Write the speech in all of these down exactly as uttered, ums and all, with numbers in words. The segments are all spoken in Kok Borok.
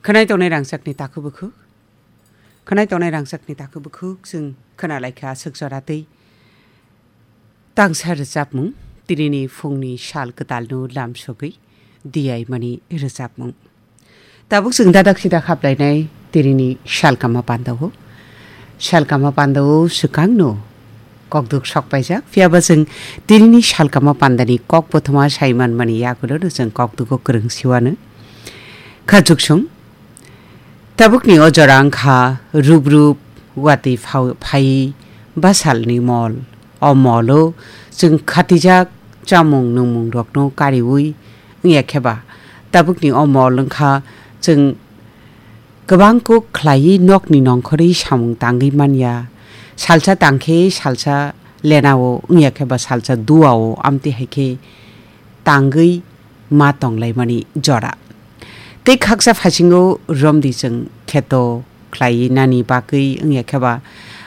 Khwnai tongnai rangchakni takhuk bukhuk. Khwnai tongnai rangchakni takhuk bukhuk chwng khwnalaikha aswk jora tei tangsa rwchapmung, tinini phungni sal kwtalno lamsogwi diyaimani rwchapmung. Tabuk chwng dadak sidak haplainai tinini salkama pandao. Salkama pandao swkangno kokduk sokpaijak, phiyaba chwng tinini salkama pandani kok bothoma saimanmani yagulono chwng kokdugo kwrwng siwano. Khachuksong. Tabukni o jora wngkha rup rup watwi phai basalni mol. O molo chwng khatijak chamung nungmungrokno kariwi wngya kheba. Tabukni o mol wngkha chwng kwbang kok khlaiwi nokni nongkhorwi samung tangwi manya. Salsa tangkhe salsa lenao wngya kheba salsa duao amtwi hai khe tangwi ma tonglaimani jora. Tei khaksa phasingo romdi chwng kheto khlai nani bagwi wngya kheba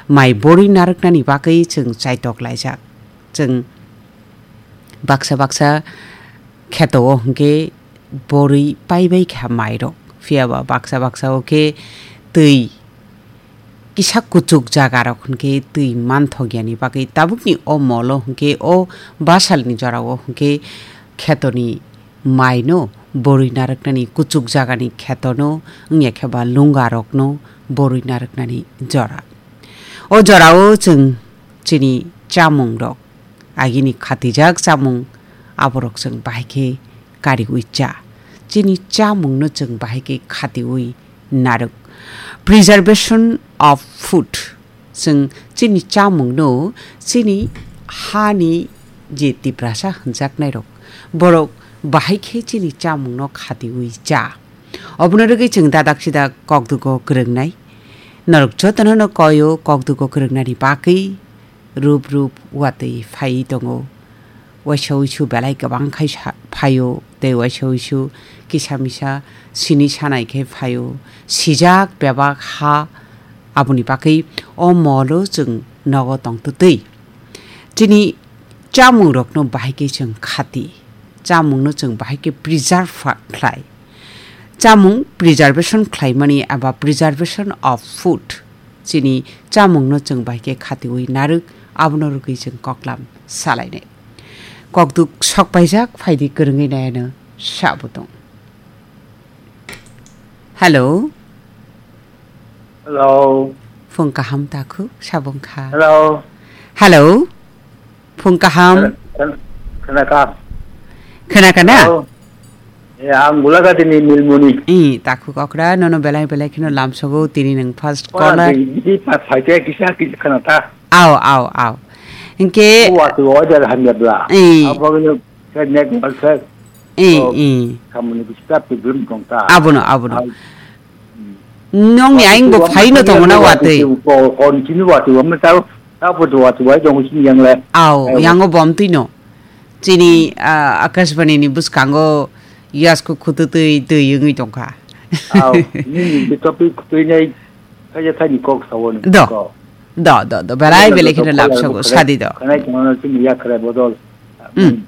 mai borwi narwknani bagwi chwng chaitok laijak. Chwng baksa baksa kheto o hwnkhe borwi paibai kha mairok. Phiyaba baksa baksa o khe twi kisa kuchuk jaga rok hwnkhe twi manthok yani bagwi tabukni o molo hwnkhe o basalni jorao hwnkhe khetoni maino borwi narwknani kuchuk jagani khetono wngya khe ba lunga rokno borwi narwknani jora. O jorao chwng chini chamung rok agini khatijak chamung aborok chwng bahai khe kariwi cha. Chini chamungno chwng bahai khe khatiwi narwk. Preservation of food. Chwng chini chamungno chini hani je Tiprasa hwnjaknairok, borok bahai khe chini chamungno khatiwi cha. Obono rwgwi chwng dadak sidak kokdugo kwrwngnai. Norok jotono no koyo kokdugo kwrwngnani bagwi rup rup watwi phaiwi tongo. Waisa wisu belai kwbang khai sa-, phaio, tei waisa wisu kisa misa sini sanai khe phaio. Sijak bebak ha, aboni bagwi o molo chwng nogo tongtwtwi. Chini chamungrokno bahai khe chwng khati, chamungno chwng bahai khe preserve khlai. Chamung preservation khlaimani eba preservation of food. Chini chamungno chwng bai khe khatiwi narwk, abono rwgwi chwng koklam salainai. Kokduk sokpaijak phaidi kwrwngwi naiano sabo tong. Hello. Hello. Phung kaham takhuk sabong kha. Hello. Hello. Phung kaham. Khna-, khna-, khna ka? Khna ka na? Hello. Eh, ang Gulagati ni Nilmoni. I, takhuk okra, nono belai belai kheno lamsogo, tini nang first caller. Di, di pa phaite kisa kisa khna ta. Ao, ao, ao. Hingke. O watu order hamya bla. I. Abo no se network se. I, i. Kamuni kisa problem tong ta. Abono, abono. Ao. Nongni ayang bo phaino tongo na watwi. Kon chini watwi wamna tao, tao bo watwi wai tongo chini yang le. Ao, yango bom twino. Chini, ah, Akashbani ni bwskango yasko khututwi twi wngwi tongkha. Ao, nini topic khutwi nai, kaya thani kok sawo ni. Do. Do, do, do. Belai belai kheno lab sago, sadi do. Kanai tongno chini yakre bodol. Mm.